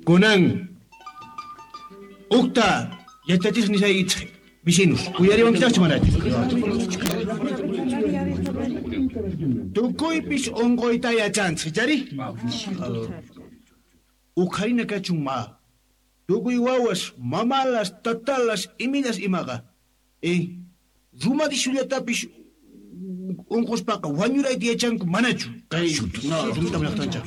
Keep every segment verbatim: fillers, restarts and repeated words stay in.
Kunan ukta yachachis nisaykichej vecinos, uyariwankichajchu manachu? Tukuypis unquyta yachanchej, chari? Uqharina kachun ma. Tukuy wawas, mamalas, tatalas, imilas imaqa. Eh, rumadishullatapis unquspaqa wañurayta yachanku manachu? Kay no, rumita llaqtanchaj.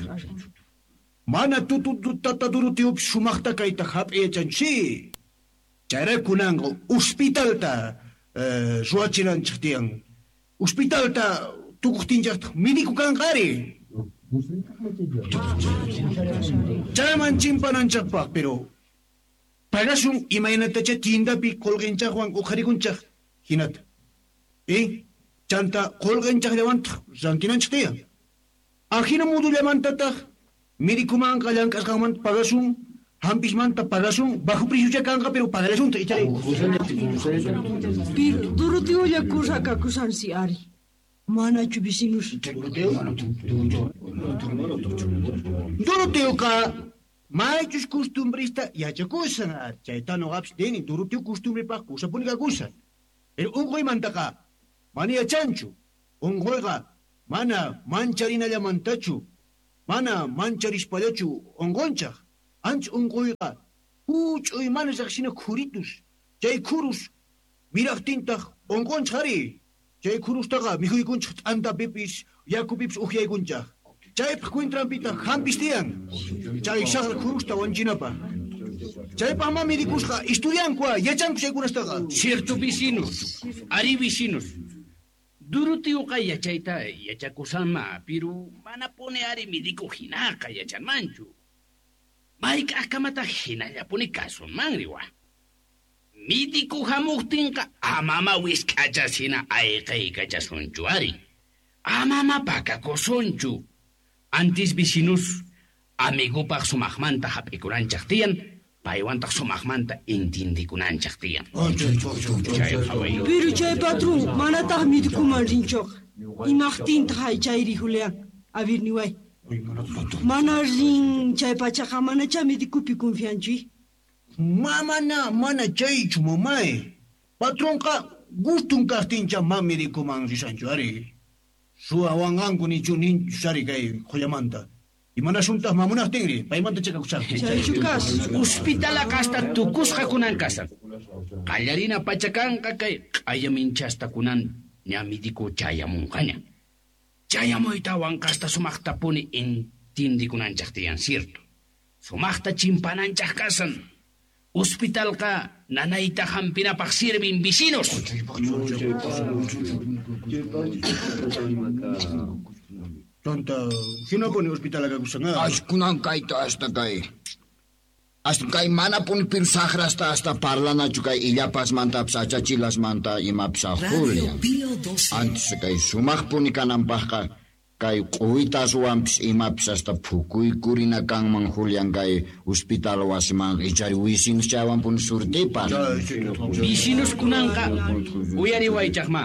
Mana tutu tata Doroteo sumaqta kayta hap'iy yachanchu. Si. Chayrayku kunanqa hospitalta eh, ruwachinanchej tiyan. Hospitalta tukuqtinchajtaj médico kanqa ari. Chayman chimpananchajpaj, pero pagasun imaynatacha tiendapi qolqinchajwan uqharikunchaj hinata. Eh, chanta qolqinchajllawantaj rantinanchej tiyan. Ajina modullamantataj médicomanqa llank'asqanmanta pagasun, hampismanta pagasun, bajo precio kanqa, pero pagalasunta ichari. Pero Doroteolla kusakakusansi ari. Manachu vecinos? Doroteoqa maychus costumbrista yachakusan ari. Chayta noqapis nini, Doroteo costumbrepaj kusapuni kakusan. Pero unquymantaqa mana yachanchu. Unquyqa mana mancharinallamantachu, mana mancharispallachu unqunchaj. Ancha unquyqa huch'uy mana riqsina khuritus. Chay khurus miraqtintaq unqunchaj ari. Chay khurustaqa mikhuykunchaj t'antapipis, yakupipis ukyaykunchaj. Chaypaj cuentranpitaq hampis tiyan. Chay saqra khurusta wanchinapaj. Chaypaj ma medikusqa estudiankua, yachanku chaykunastaqa. Cierto vecinos, ari vecinos. Doroteuqa yachayta yachakusanma, pero manapuni ari médico hinaqa yachanmanchu. Mayk'aqkamataq hinallapuni kasunmanri wa. Médico hamuqtinqa amama wisk'achas hina ayqaykachasunchu ari. Amama pakakusunchu. Antis vecinos amigopaj sumaqmanta hap'ikunanchaj tiyan, paywantaq sumaqmanta intindikunanchaj tiyan. Chay qhaway. Pero chay patrón manataq médicoman rinchoqa. Imaqtintaq chayri Julián? A ver niway. Mana rin chay pachaqa manacha médicopi confianchu. Mamana mana chaychu mamay. Patronqa gustun kaqtincha ma médicoman risanchu ari. Suwawanqanku nichu ninchu ari kay qhullamanta. Imanasuntaq mamunaqtinri paymanta chakakusaqti. Chaychu kas. Hospitalaqa hasta tukusqa kunan kasan. Qallarina pacha kanqa kay q'ayaminchasta kunan ña médico chayamunqaña. Chayamuytawan kasta sumaqtapuni intindikunanchaj tiyan, cierto. Sumaqta chimpananchaj kasan. Hospitalqa nanayta hampinapaj sirvin vecinos. Chanta, hinapuni hospitalaqa kakusan. Ashkunan kayta hasta kay. Hasta kay manapuni piru saqrasta hasta parlanachu kay illapasmantapis achachilasmanta imapis Julián. Antes kay sumaqpuni kananpajqa kay q'uwitaswanpis imapis hasta phukuykurina kanman Julián kay hospital wasiman ichari wisinos chaywanpuni surtipan. Vecinos kunanqa uyariwaychajma.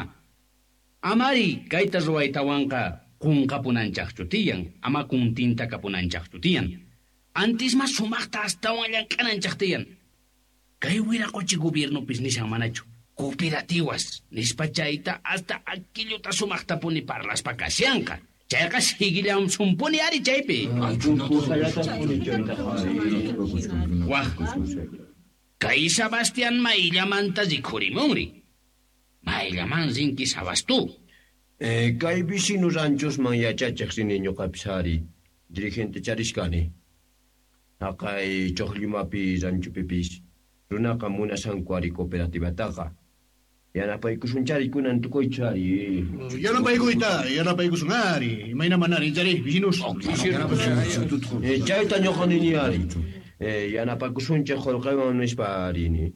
Amari kayta ruwaytawanqa qunqapunanchajchu tiyan, ama kuntinta kapunanchajchu tiyan. Antes mas sumaqta astawan llank'ananchaj tiyan. Kay wiraqochi gobiernopis nishan manachu. Cooperativas nispa chayta hasta aquilluta sumaqtapuni parlaspa kashanqa. Chayqa siguillansunpuni ari chaypi. Waj, kay Sebastián mayllamanta rikhurimunri. Mayllaman rinki Sabastu. Eh, kay vecino ranchosman yachachej rini ñuqapis ari. Dirigente charishkani. Haqay Chojllumapi ranchupipis runaqa munasanku ari cooperativataqa. Yanapaykusunchari kunan tukuychu ari. Yanapaykuyta, yanapaykusun ari. Imayna manari, chari, vecinos. Eh, chayta ñuqa nini ari. Eh, yanapakusunchej qullqiwan nispa ari.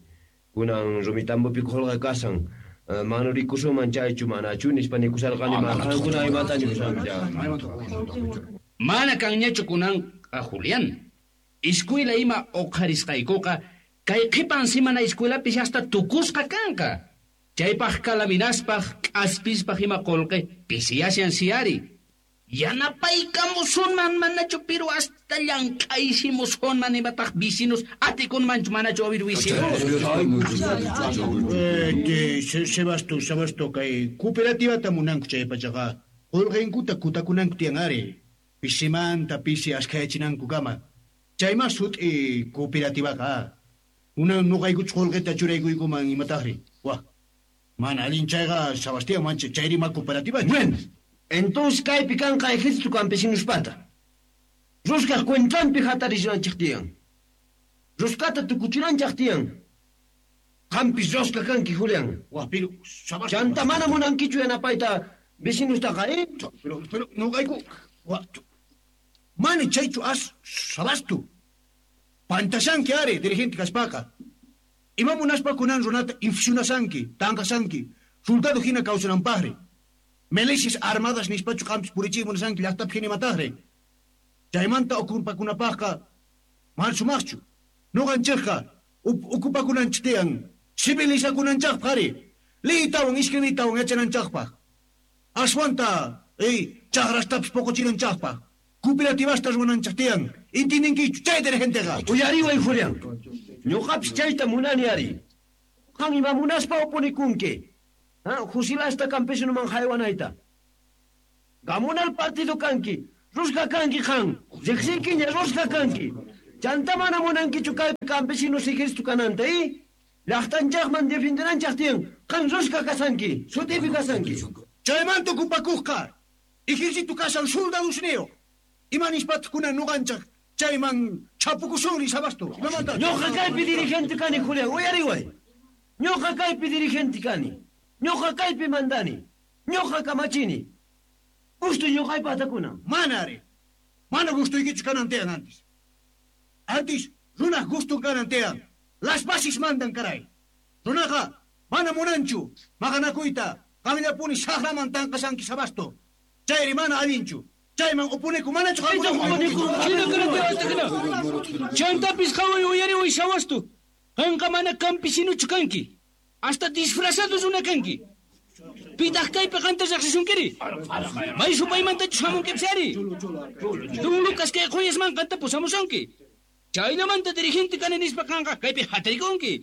Kunan Rumitambopi qullqi kasan. Manurikusunman chaychu manachu nispa nikusarqani ma qankuna imata nikusankichaj. Mana kanñachu kunanqa Julián. Escuela ima uqharisqaykuqa kay qhipan simana escuelapis hasta tukusqa kanqa. Chaypaj kalaminaspaj k'aspispaj ima qullqi pisiyashan si ari. Yanapaykamusunman manachu pero hasta llank'aysimusunman imataq vecinos atikunmanchu manachu abir vecinos. Eh, Sebasto, Sebasto kay cooperativata munanku chay pachaqa. Qulqinkuta kutakunanku tiyan ari. Pisimanta pisi askhayachinankukama. Chayma sut'i cooperativaqa. Unan nuqaykuchu qulqita churaykuykuman imataqri. Wah. Mana allin chayqa Sebastián mancha chayrima cooperativa. Bueno. Entonces kaypi kanqa ejército campesinospata. Ruskaj cuentranpi hatarishanchej tiyan. Ruskata tukuchinanchej tiyan. Qampis ruska kanki, Julián. Wah, pero chanta mana munankichu yanapayta vecinostaqa, eh? Pero, pero, nuqayku. Wah, mana chaychu as Sabasto. Pantashanki ari, dirigente kaspaqa. Ima munaspa kunan runata infusionasanki, tanqasanki, soldado hina kawsananpaqri. Milicias armadas nispachu qampis purichiy munasanki llaqtapi hina imataqri. Chaymanta okupakunapaqqa mana sumaqchu. Nuqanchikqa okupakunanchik tiyan, civilizakunanchikpaq ari. Liytawan escribiytawan yachananchikpaq. Aswanta, ey, chaqrastapis poqochinanchikpaq. Cooperativasta ruwananchik tiyan. Intindinkichu chay dirigenteqa. Uyariway, Julián. Ñuqapis chayta munani ari. Qan ima munaspa oponikunki. Ah, fusilasta campesinoman haywanayta. Gamunal partido kanki, ruska kanki qan, riqsinkiña ruska kanki. Chanta mana munankichu kaypi campesinos ejército kananta, eh? Llaqtanchaqman defendenanchaq tiyan, qan ruska kasanki, sutipi kasanki. Chaymanta okupakuqqa, ejército kasan soldadosniyuq. Ima nispataq kunan nuqanchaq chayman chapukusunri Sabasto. Imamanta? Ñuqa kaypi dirigente kani, Julián, uyariway. Ñuqa kaypi dirigente kani. Ñuqa kaypi mandani. Ñuqa kamachini. Gusto ñuqaypa atakuna. Mana ari. Mana gustuykichu kanan tiyan antes. Antes runaj gustun kanan tiyan. Las bases mandan caray. Runaqa mana munanchu maqanakuyta qamllapuni saqraman tanqasanki Sabasto. Chayri mana allinchu. Chayman upuniku manachu qamkuna. Chantapis qhaway uyariway Sabasto. Qanqa mana campesinuchu kanki. Hasta disfrazado runa kanki. Pitaq kaypi qanta riqsisunkiri. May supaymantachus hamunkipis ari. Don Lucas kay quyasman qanta pusamusunki. Chaynamanta dirigente kani nispa qanqa kaypi hatarikunki.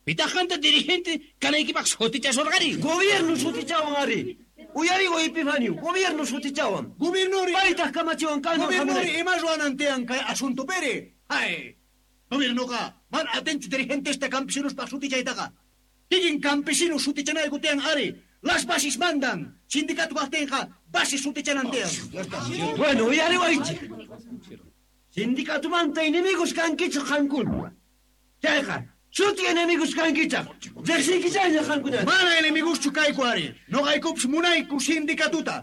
Pitaq qanta dirigente kanaykipaq sutichasurqari. Gobierno sutichawan ari. Uyariway Epifanio, gobierno sutichawan. Gobiernori. Paytaq kamachiwan kayman Gobiernori ima ruwanan tiyan kay asunto peri. Ay. Gobiernoqa mana atinchu dirigentesta campesinospaq sutichaytaqa. Kikin campesino sutichanayku tiyan ari. Las bases mandan. Sindicato kaqtinqa bases sutichanan tiyan. Bueno, uyariwaychik. Sindicatomanta enemigos kankichik qankuna. Chayqa, suti enemigos kankichaq. Riqsinkichayña qankuna. Mana enemigoschu kayku ari. Nuqaykupis munayku sindicatuta.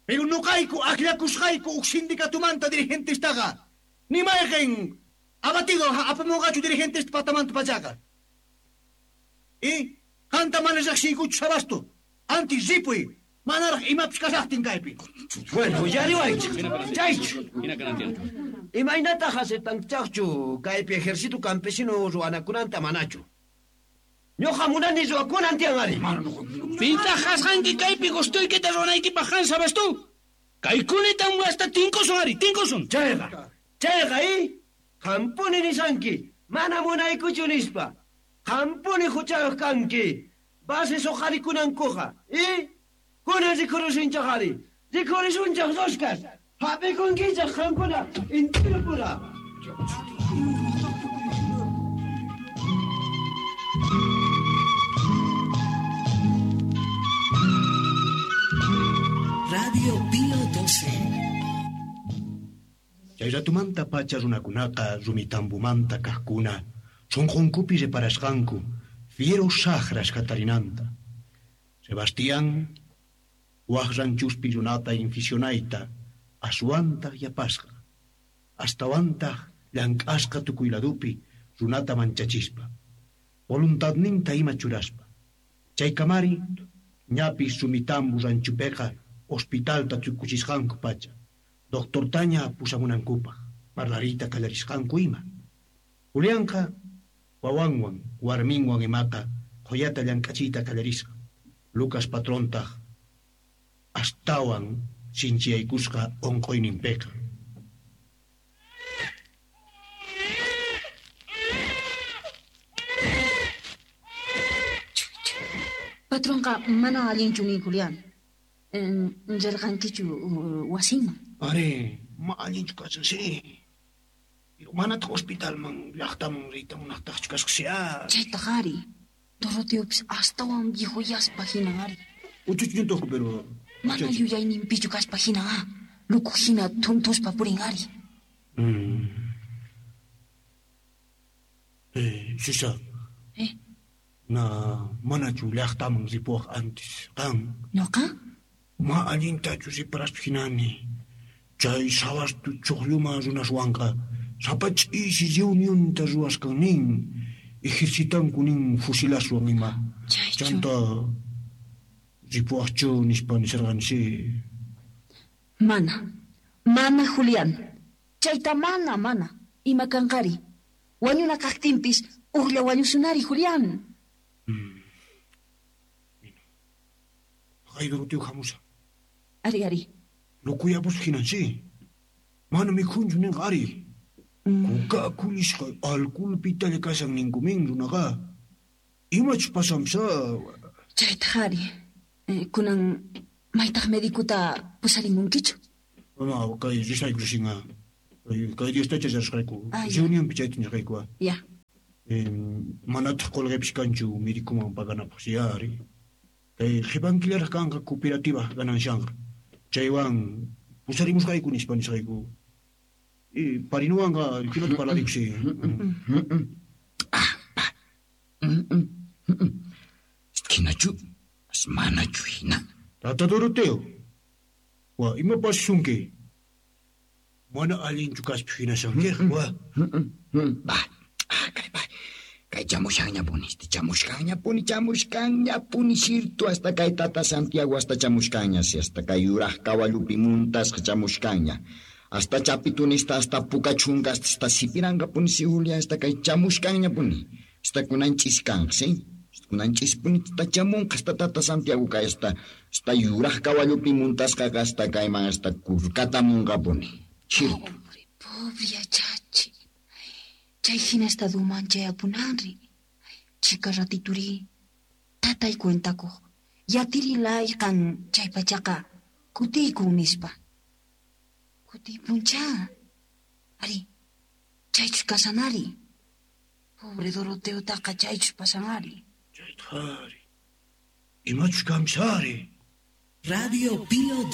Pero nuqayku akllakusqayku uj sindicatumanta dirigentestaqa. Ni mayqin abatido apamunqachu dirigentesta patamanta pachaqa. Y qanta mana riqsiykuchu Sabasto. Antes ripuy, manaraq imapis kashaqtin kaypi. Bueno, uyariwaychik. Chaychu. Imaynataq aceptanchaqchu kaypi ejército campesino ruwanakunanta manachu. Ñuqa munani ruwakunan tiyan ari. Pitaq kasqanki kaypi gustuykita ruwanaykipaq qan Sabasto. Kaykunatam hasta tinkusun ari, tinkusun. Chayqa, chayqa, eh? Qampuni nisanki, mana munaykuchu nispa. Qampuni huchayuq kanki. Bases uqarikunankuqa, eh? Kunan rikurusunchaq ari. Rikurisunchaq ruskas. Hap'ikunkichaq qankuna intirupura. Radio Pío doce. Chay ratumanta pacha runakunaqa rumitambumanta kaqkuna sunqunkupi reparasqanku fiero saqras hatarinanta. Sebastián waq ranchuspi runata inficionayta aswantaq yapasqa. Astawantaq llank'asqa tukuy ladupi runata manchachispa. Voluntadninta ima churaspa. Chaykamari ñapis Rumitambu ranchupiqa hospitalta tukuchisqanku pacha. Doctortaña pusamunankupaq parlariyta qallarisqanku ima. Julianqa wawanwan warminwan imaqa qhuyata llank'achiyta qallarisqa. Lucas patrontaq astawan sinchiyaykusqa onqoyninpiqa. Patronqa mana allinchu nin, Julián. Rirqankichu wasinman? Ari, ma allinchu kashan, sí. Pero manataq hospitalman, llaqtaman riyta munaqtaqchu kasqa, sí. Chaytaq ari. Doroteopis astawan viejuyaspa hinan ari. Uchuchñutaqku, pero... Mana yuyayninpichu kaspa hinan, ah. Luku hina thuntuspa purin ari. Mm. Eh, Sisa. Eh? Na, manachu llaqtaman ripuwaq antes, qan? Noqa? Ma allintachu riparaspa hinani. Chay sawastu chuqlluma runaswanqa sapa ch'isi reunionta ruwasqan nin. Ejercitanku nin fusilaswan ima. Chaychu. Chanta ripuwaqchu nispa nisharqani, sí. Mana. Mana, Julián. Chayta mana, mana. Ima kanqari. Wañuna kaqtinpis ujlla wañusunari, Julián. Mm. Kay Doroteo hamushan. Ari, ari. Lukuyapus hinan, sí. Mana mikhunchu ninqa, ari. Mm. Kuka kulisqa alcoholpitalla kashan ninkumin runaqa. Imachus pasanpis, Chaytaq ari. Eh, kunan maytaq medikuta pusarimunkichu? Ma, kay risayku risinqa. Kay Diostacha risqayku. Ah, ya. Reunionpi chayta nisqayku. Ya. Eh, manataq qolqepis kanchu medikuman paganapaq, sí, ari. Kay qhipankillaraq kanqa cooperativa gananshanqa. Chaywan pusarimusqayku nispa nisqayku. Y parinuwanqa hinata parlariyku, sí. Ah, pa. Hinachu, manachu hina. Tata Doroteo. Wa, ima pasasunki? Mana allinchu kaspa hinashankiq, wa. Ba, ah, kay ba. Kay chamushanñapuni, este chamushkanñapuni, chamushkanñapuni, sirtu hasta kay tata Santiago hasta chamushkanña, si hasta kay yuraq kawallupi muntasqa chamushkanña. Hasta chapitunista, hasta pukachunka, hasta sipiranqapuni, si Julia, hasta kay chamushkanñapuni. Hasta kunan ch'iskanqa, sí? Hasta kunan ch'ispuni, hasta chamunqa, hasta tata Santiago kay hasta, hasta yuraq kawallupi muntasqaqa hasta kayman, hasta kurkatamunqapuni. Chirtu. Pobre, pobre yachachi. Chay hina estaduman chayapunanri. Chika ratituri. Tatay cuentakuq. Yatiri layqan chay pachaqa kutiykun nispa. Kutiypunchá. Ari, chaychus kasanari. Pobre Doroteotaqa chaychus pasanari. Chaytaq ari. Imachus kanpis ari. Radio Pío